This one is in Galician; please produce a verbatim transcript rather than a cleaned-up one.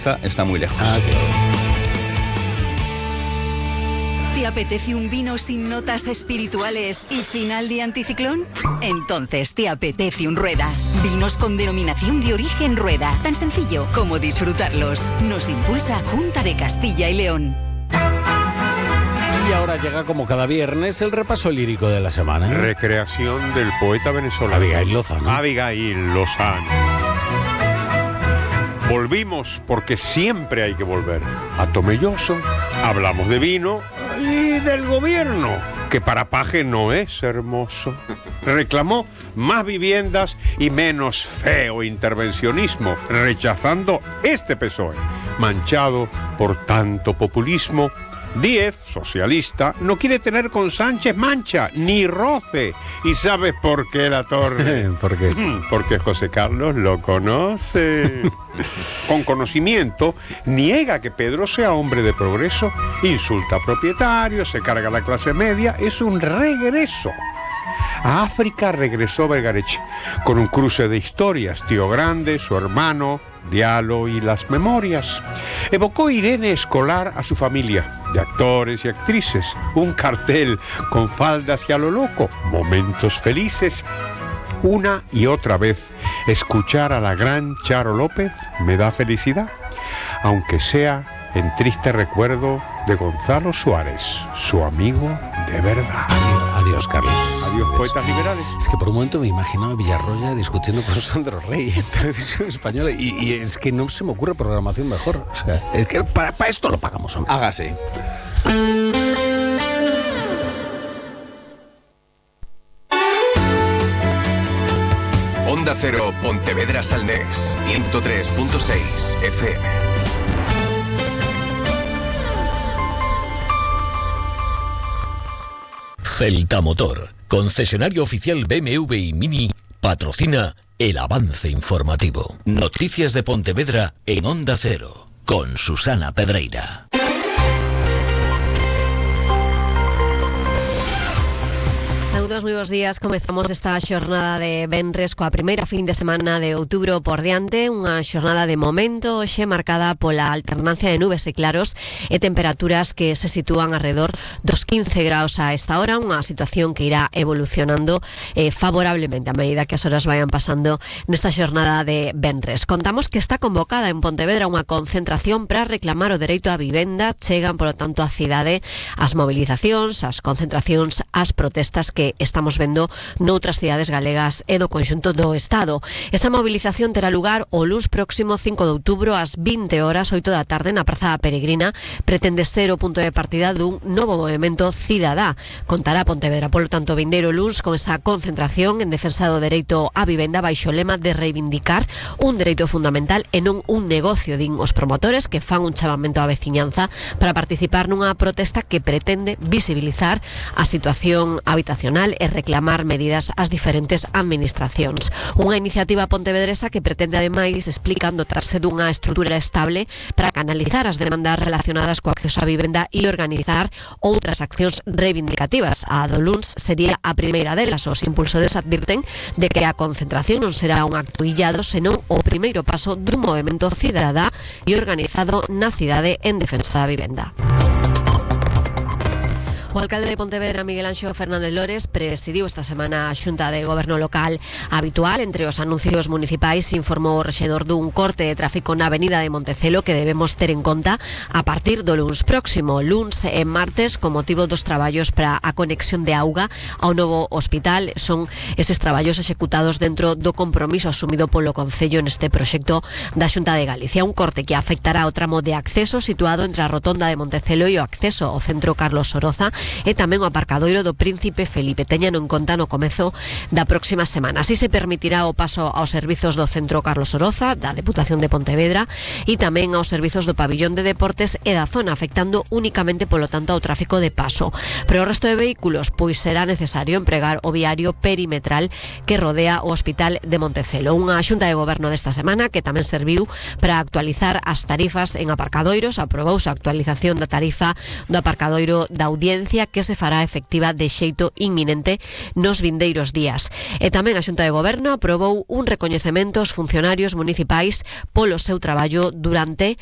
está, está muy lejos. Ah, claro. ¿Te apetece un vino sin notas espirituales y final de anticiclón? Entonces te apetece un Rueda. Vinos con denominación de origen Rueda. Tan sencillo como disfrutarlos. Nos impulsa Junta de Castilla y León. Y ahora llega, como cada viernes, el repaso lírico de la semana. Recreación del poeta venezolano Abigail Lozano. Abigail Lozano. Volvimos porque siempre hay que volver. A Tomelloso hablamos de vino y del gobierno, que para paje no es hermoso. Reclamó más viviendas y menos feo intervencionismo, rechazando este P S O E, manchado por tanto populismo. Díez, socialista, no quiere tener con Sánchez mancha, ni roce. ¿Y sabes por qué, la torre? ¿Por qué? Porque José Carlos lo conoce. Con conocimiento, niega que Pedro sea hombre de progreso, insulta a propietarios, se carga a la clase media, es un regreso. A África regresó Vergarech con un cruce de historias, Tío Grande, su hermano, Diallo y las memorias. Evocó Irene Escolar a su familia, de actores y actrices, un cartel con faldas y a lo loco, momentos felices. Una y otra vez, escuchar a la gran Charo López me da felicidad, aunque sea en triste recuerdo de Gonzalo Suárez, su amigo de verdad. Adiós, Carlos. Adiós, poetas liberales. Es que por un momento me imaginaba a Villarroya discutiendo con Sandro Rey en Televisión Española y, y es que no se me ocurre programación mejor. O sea, es que para, para esto lo pagamos, hombre. Hágase. Onda Cero, Pontevedra Salnés, ciento tres punto seis F M. Celta Motor, concesionario oficial B M W y Mini, patrocina el avance informativo. Noticias de Pontevedra en Onda Cero, con Susana Pedreira. Saúdos, moi bons días. Comezamos esta xornada de venres coa primeira fin de semana de outubro por diante, unha xornada de momento hoxe marcada pola alternancia de nubes e claros e temperaturas que se sitúan alrededor dos quince graus a esta hora, unha situación que irá evolucionando eh, favorablemente a medida que as horas vayan pasando nesta xornada de venres. Contamos que está convocada en Pontevedra unha concentración para reclamar o dereito á vivenda. Chegan, polo tanto, á cidade as movilizacións, as concentracións, as protestas que estamos vendo noutras cidades galegas e do conxunto do Estado. Esa movilización terá lugar o luns próximo cinco de outubro ás vinte horas, oito da tarde, na Praza Peregrina. Pretende ser o punto de partida dun novo movimento cidadá. Contará Pontevedra, polo tanto, vindeiro luns con esa concentración en defensa do dereito á vivenda baixo o lema de reivindicar un dereito fundamental e non un negocio, din os promotores, que fan un chamamento á veciñanza para participar nunha protesta que pretende visibilizar a situación habitacional e reclamar medidas ás diferentes administracións. Unha iniciativa pontevedresa que pretende, ademais, explican, dotarse dunha estrutura estable para canalizar as demandas relacionadas co acceso á vivenda e organizar outras accións reivindicativas. A do luns sería a primeira delas. Os impulsores advirten de que a concentración non será un acto illado, senón o primeiro paso dun movimento cidadá e organizado na cidade en defensa da vivenda. O alcalde de Pontevedra, Miguel Anxo Fernández Lores, presidiu esta semana a Xunta de Goberno Local habitual. Entre os anuncios municipais informou o rexedor dun corte de tráfico na avenida de Montecelo que debemos ter en conta a partir do luns próximo. Luns e martes, con motivo dos traballos para a conexión de auga ao novo hospital. Son eses traballos executados dentro do compromiso asumido polo Concello neste proxecto da Xunta de Galicia. Un corte que afectará o tramo de acceso situado entre a rotonda de Montecelo e o acceso ao centro Carlos Soroza e tamén o aparcadoiro do Príncipe Felipe. Teñano en conta no comezo da próxima semana. Así se permitirá o paso aos servizos do centro Carlos Soroza, da Deputación de Pontevedra, e tamén aos servizos do pabillón de deportes e da zona, afectando únicamente, polo tanto, ao tráfico de paso. Pero o resto de vehículos, pois será necesario empregar o viario perimetral que rodea o Hospital de Montecelo. Unha xunta de goberno desta semana que tamén serviu para actualizar as tarifas en aparcadoiros. Aprobouse a actualización da tarifa do aparcadoiro da Audiencia, que se fará efectiva de xeito inminente nos vindeiros días. E tamén a Xunta de Goberno aprobou un recoñecemento aos funcionarios municipais polo seu traballo durante